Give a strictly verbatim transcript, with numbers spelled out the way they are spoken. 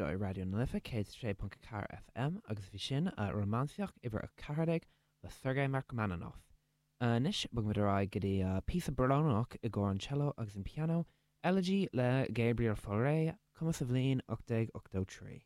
Seo é Raidió na Life céad sé ponc a ceathair FM agus bhí sin Rómánsaíocht uimhir a ceathair déag le Sergei Rachmaninoff. Anois bogfaimid ar aghaidh go dtí píosa brónach i gcomhair an cello agus an piano, Elegy le Gabriel Fauré, cumtha sa bhliain ocht déag ochtó trí.